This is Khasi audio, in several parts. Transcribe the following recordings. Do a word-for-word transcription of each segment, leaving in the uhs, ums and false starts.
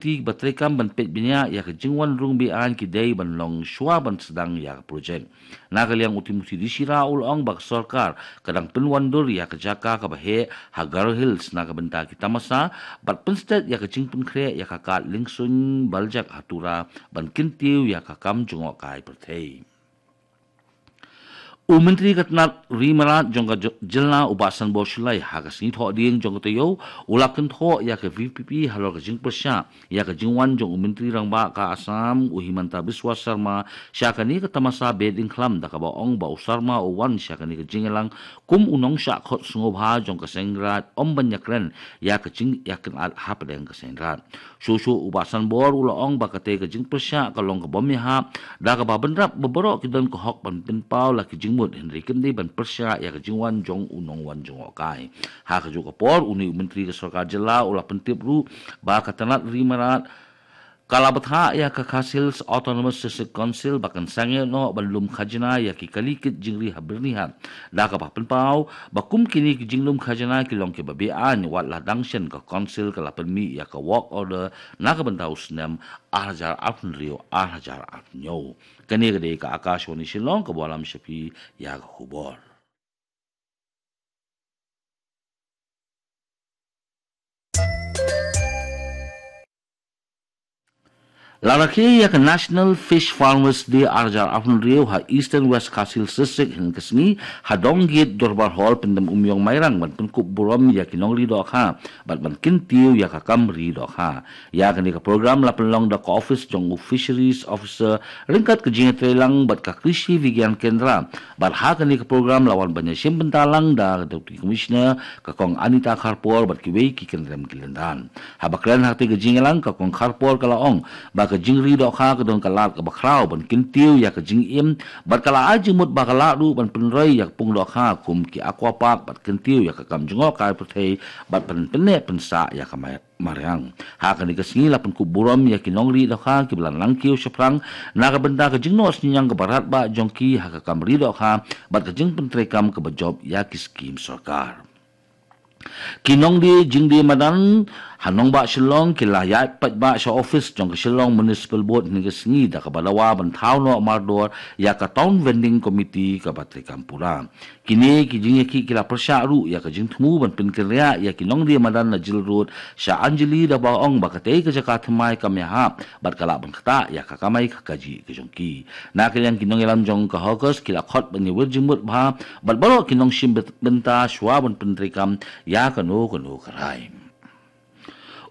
Ti ba treikam ban peit bniah ïa ka jingwan rung beaiñ ki dei ban long shuwa ban sdang ïa ka projek. Na ka liang u Timothy D Shira u la ong ba ka sorkar ka dang pynwandur ïa ka jaka kaba heh ha Garo Hills na ka bynta ki tamasa bad pynstet ïa ka jingpynkhreh ïa ka kad liengsuiñ baljak ha Tura ban kyntiew ïa ka kam jngohkai pyrthei. U Myntri ka tnat ri mrad jong ka jylla u Bah Sanbor Shullai ha ka sngi Thohdieng jong ka taïew u la kynthoh ïa ka V P P halor ka jingpyrshah ïa ka jingwan jong u Myntri Rangbah ka Assam u Himanta Biswa Sarma sha kane ka tamasa Behdeiñkhlam da kaba ong ba u Sarma u wan sha kane ka jingïalang kum u nongshah khot sngewbha jong ka Seiñ Raij ym ban ïakren ïa ka jingïakynad hapdeng ka Seiñ Raij. Shuh shuh u Bah Sanbor u la ong ba katei ka jingpyrshah ka long ka bym ïahap da kaba bynrap ba baroh ki don ka hok ban pynpaw la ki jingmut hynrei kim dei ban pyrshah ïa ka jingwan jong u nongwan jngohkai. Ha kajuh ka por une u Myntri ka sorkar jylla u la pyntip ruh ba ka tnat ri mrad ka la bthah ïa ka Khasi Hills Autonomous District Council ba kan sangeh noh ban lum khajna ïa ki kali kit jingri ha Byrnihat da kaba pynpaw ba kum kine ki jinglum khajna ki long kiba beaiñ wat la dang shen ka Council ka la pynmih ïa ka work order na ka bynta u snem ar hajar arphew hynriew ar hajar arphew hynñiew. Kane ka dei ka Akashvani Shillong kaba wallam sha phi ïa ka khubor. La rakhe ïa ka National Fish Farmers Day ar hajar arphew hynriew ha Eastern West Khasi Hills District hynne ka sngi ha Donggate Dorbar Hall, Pyndem Umïong, Mairang ban pynkup burom ïa ki nongri dohkha bad ban kyntiew ïa ka kam ri dohkha. Ïa kane ka program la pynlong da ka office jong u Fisheries Officer ryngkat ka jingïatreilang bad ka Krishi Vigyan Kendra. Bad ha kane ka program la wan ban ïashim bynta lang da ka Deputy Commissioner ka Kong Anita Kharpor bad kiwei ki kynrem ki lyndan. Haba kren ha katei ka jingïalang ka Kong Kharpor ka la ong ba ka jingri dohkha ka don ka lad kaba khraw ban kyntiew ïa ka jingim bad ka la ai jingmut ba ka lah ruh ban pynroi ïa ka pung dohkha kum ki aqua park bad kyntiew ïa ka kam jngohkai pyrthei bad ban pynneh pynsah ïa ka mai mariang. Ha kane ka sngi la pynkup burom ïa ki nongri dohkha kiba la nang kiew shaphrang na ka bynta ka jingnoh synñiang kaba radbah jong ki ha ka kam ri dohkha bad ka jingpyntreikam kaba jop ïa ki skim sorkar. Ki nongdie jingdie madan ha nongbah Shillong ki la ïaid paidbah sha office jong ka Shillong Municipal Board hynne ka sngi da kaba dawa ban thaw noh mardor ïa ka Town Vending Committee kaba treikam pura. Kine ki jingïakhih ki la pyrshah ruh ïa ka jingthmu ban pynkynriah ïa ki nongdie madan na Jail Road sha Anjali da ba ong ba katei ka jaka thymmai kam ïahap bad ka lah ban ktah ïa ka kamai ka kajih ka jong ki. Na ka liang ki nongïalam jong ka hawkers ki la khot ban ïawir jingmut bha bad baroh ki nongshim bynta shuwa ban pyntreikam ïa kano kano ka rai.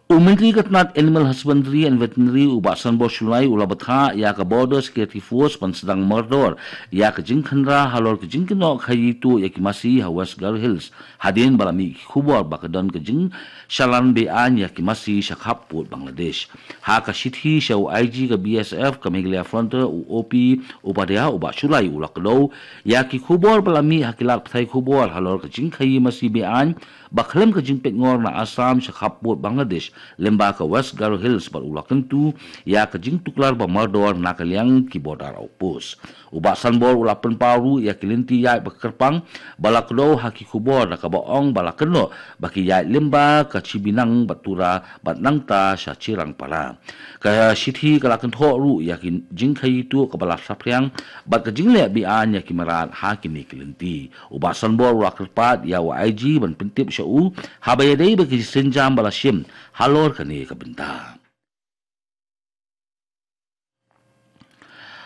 U Myntri ka tnat Animal Husbandry and Veterinary u Bah Sanbor Shullai u la bthah ïa ka Border Security Force ban sdang mardor ïa ka jingkhynra halor ka jingkynnoh khaïi tuh ïa ki masi ha West Garo Hills hadien ba la mih ki khubor ba ka don ka jingshalan beaiñ ïa ki masi sha khappud Bangladesh. Ha ka shithi sha u I G ka B S F ka Meghalaya Frontier u O P Upadhyaya u Bah Shullai u la kdew ïa ki khubor ba la mih ha ki lad pathai khubor halor ka jingkhaïi masi beaiñ ba khlem ka jingpeitngor na Assam sha khappud Bangladesh lyngba ka West Garo Hills bad u la kyntu ïa ka jingtuklar ba mardor na ka liang ki border outpost. U Bah Sanbor u la pynpaw ruh ïa ki lynti ïaid ba kyrpang ba la kdew ha ki khubor da kaba ong ba la kynnoh ba ki ïaid lyngba ka Chibinang bad Tura bad nangta sha Chirangpara. Ka shithi ka la kynthoh ruh ïa ki jingkhaïi tuh kaba la saphriang bad ka jingleh beaiñ ïa ki mrad ha kine ki lynti. U Bah Sanbor u la kyrpad ïa u I G ban pyntip sha u haba ïadei bad ki synjam ba la shim halor kane ka bynta.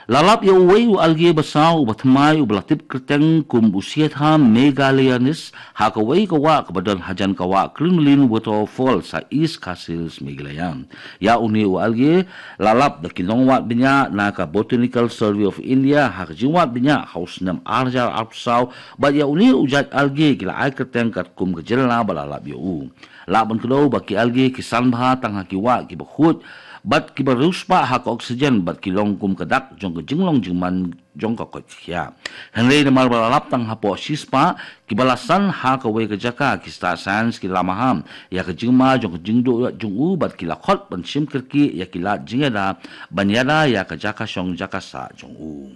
La lap ïa uwei u alge basaw uba thymmai uba la tip kyrteng kum u Siatham megaleianis ha kawei ka wah kaba don hajan ka wah Kremlin Waterfalls ha East Khasi Hills, Meghalaya. Ïa une u alge la lap da ki nongwad bniah na ka Botanical Survey of India ha ka jingwad bniah ha u snem ar hajar arphew saw bad ïa une u jait alge ki la ai kyrteng katkum ka jylla ba la lap ïa u. Lah ban kdew ba ki alge ki san bha tang ha ki wah kiba khuid bad kiba riewspah ha ka oxygen bad ki long kum ka dak jong ka jinglong jingman jong ka koit ka khiah. Hynrei namar ba la lap tang hapoh shispah kiba la san ha kawei ka jaka, ki star science ki la maham ïa ka jingma jong ka jingduh jong u bad ki la khot ban shim kyrkieh ïa ki lad jingïada ban ïada ïa ka jaka shong jaka sah jong u.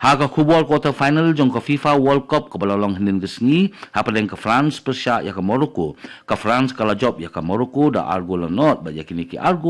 Ha ka khubor quarter final jong ka FIFA World Cup kaba la long hynnin ka sngi, hapdeng ka France pyrshah ïa ka Morocco, ka France ka la jop ïa ka Morocco da ar gol la nod, bad ïa kine ki ar gol